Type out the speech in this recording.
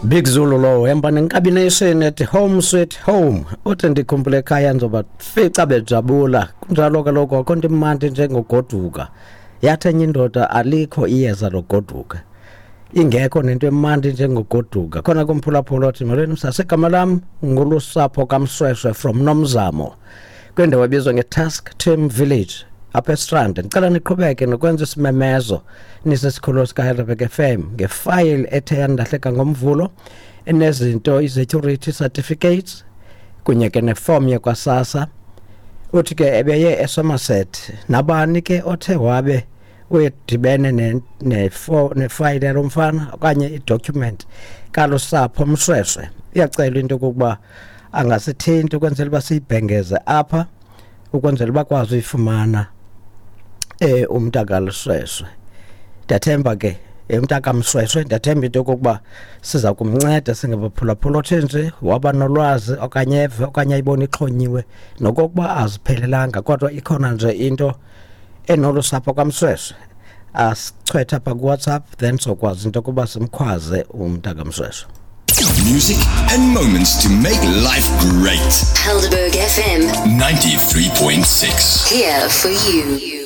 Big Zulu lo hamba nenkabi nation ethi home sweet home. Uthi ndikhumbule ekhaya ngizobafica bejabula. Kunjalo kaloku akho nto imandi njengogoduka. Yathi enye indoda alikho iyeza logoduka. Ingekho nento emandi njengogoduka. Khona kumphulaphula othi molweni msase, igama lam ngulusapho kaMsweswe from Nomzamo kwindawo ebizwa ngeTask Team Village apha eStrand. Ndicela niqhubeke nokwenza isimemezo nisesikhululo sikaHeidelberg FM ngefayile ethe yandahleka ngoMvulo enezinto i-security certificates kunye ke nefom yakwaSASSA. Uthi ke ebeye eSomerset, nabani ke othe wabe uyedibene nefayile yalo mfana okanye idocument kalusapho Msweswe, iyacelwa into yokokuba angasithinti ukwenzela uba siyibhengeze apha ukwenzela uba bakwazi uyifumana umntakalusweswe. Ndiyathemba ke umntakaMsweswe, ndiyathemba into yokokuba siza kumnceda singabaphulaphula. Othe nje waba nolwazi okanye eve okanye ayibone ixhonyiwe nokokuba aziphelelanga kodwa ikhona nje into enolu sapho kaMsweswe, asichwetha apha kuWhatsApp, then sokwazi into yokuba simkhwaze umntakaMsweswe. Music and moments to make life great. Helderberg FM 93.6. Here for you.